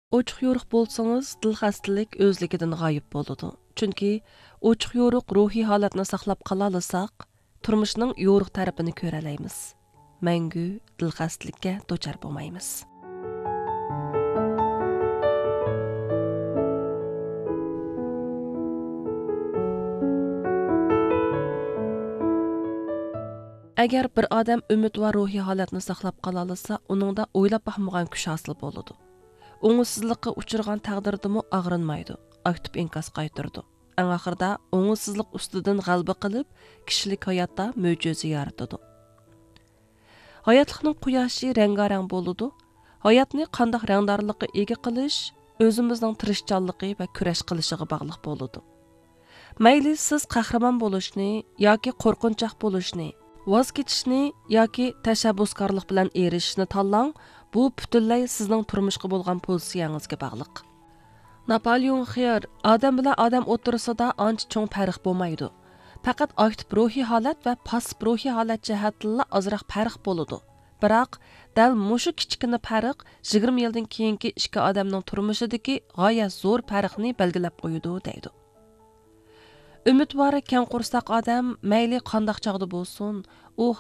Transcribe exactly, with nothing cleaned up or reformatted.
ئوچۇق يورۇق بولسىڭىز، دىل خەستىلىك ئۆزلۈكىدىن غايىب بولىدۇ. چۈنكى ئوچۇق يورۇق روھىي ھالەتنى ساقلاپ قالالىساق، تۇرمۇشنىڭ يورۇق تەرىپىنى كۆرەلەيمىز. مەڭگۈ دىل خەستىلىككە دۇچار بولمايمىز. ئەگەر بىر ئادەم ئۈمىدۋار روھىي ھالەتنى ساقلاپ قالالىسا، ئۇنىڭدا ئويلاپ باقمىغان كۈچ ھاسىل بولىدۇ. ئوڭۇشسىزلىققا ئۇچرىغان تەقدىردىمۇ ئاغرىنمايدۇ، ئاكتىپ ئىنكاس قايتۇرىدۇ. ئەڭ ئاخىرىدا ئوڭۇشسىزلىق ئۈستىدىن غەلىبە قىلىپ، كىشىلىك ھاياتتا مۆجىزە يارىتىدۇ. ھاياتلىقنىڭ قۇياشى رەڭگارەڭ بولىدۇ. ھاياتنى قانداق رەڭدارلىققا ئىگە قىلىش ئۆزىمىزنىڭ تىرىشچانلىقى ۋە كۈرەش قىلىشىغا باغلىق بولىدۇ. مەيلى سىز قەھرىمان بولۇشنى ياكى قورقۇنچاق بولۇشنى، ۋاز كېچىشنى ياكى تەشەببۇسكارلىق بىلەن ئېرىشىشنى تاللاڭ، بۇ پۈتۈنلەي سىزنىڭ تۇرمۇشقا بولغان پوزىتسىيەڭىزگە باغلىق. ناپالېئون خىيار، ئادەم بىلەن ئادەم ئوتتۇرىسىدا ئانچە چوڭ پەرق بولمايدۇ. پەقەت ئاكتىپ روھىي ھالەت ۋە پاسسىپ روھىي ھالەت جەھەتتىنلا ئازراق پەرق بولىدۇ. بىراق، دەل مۇشۇ كىچىككىنە پەرق يىگىرمە يىلدىن كېيىنكى ئىككى ئادەمنىڭ تۇرمۇشىدىكى غايەت زور پەرقنى بەلگىلەپ قويىدۇ، دەيدۇ. ئۈمىدۋار، كەڭ قورساق ئادەم مەيلى قانداق چاغدا بولسۇن، ئۇ